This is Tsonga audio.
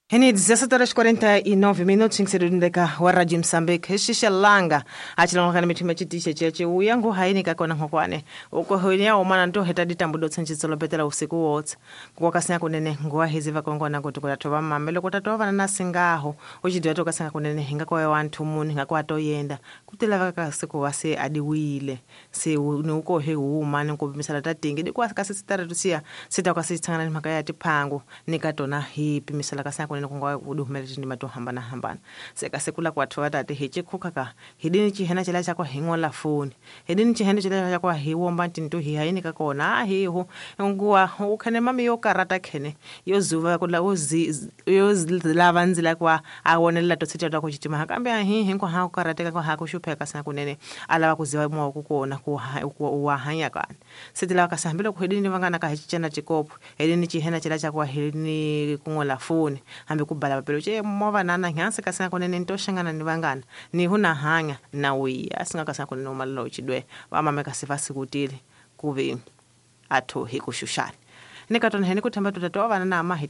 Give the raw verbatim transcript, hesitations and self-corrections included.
Hene dezessete horas quarenta e nove minutos nkisedundeka wa Radio Mozambique hishishellanga achilongana mithima chitishe cheche uyangu haini kakona ngokwane uko honya omana nto heta ditambo do tsenjitso lopetela usiku wotse kuwakasinya kunene nguwa hizi vakongona kuti kutatova mamelo kutatova na singaho uchidya tokasinga kunene hinga kwa wantu muni hinga kwa toyenda kutela vakasiku wase adiwile se ni uko he umani kupimisala tatingi dikwa kasisitara tusiya sita kwasitsangana ni mhaka ya tiphangu nikatona hi pimisala kasanga kunene kunga kuduhumela tindima to hambanahambana sekasekula kwathu tate hi chikhuka ka hidini chihena chela chakwa hing'ola foni hidini chihena chela chakwa hiwomba tinto hi haini ka kona hihu nguwa ukhene mami yo karata khene yo zuva kula uzi yo lava nzila kwa awonelela to tsita ta kuchitima kambe ahi hinko ha karateka kwa ha kushupheka sana kunene alava kuziva mwa kukona ku wa hanya kana sitila kasambilo kuhidini vangana ka hichana chikopo hidini chihena chela chakwa hidini kung'ola foni hambi kubala papelo che mova nana nyansi kasanga kunene ntoshangana ni vangana ni huna hanya na wiya asinga kasanga kunene umalilo uchidwe vamame kasifa sikutile kuvi athu hikushushana nikatona hene kuthamba tutatoa vana na mahi.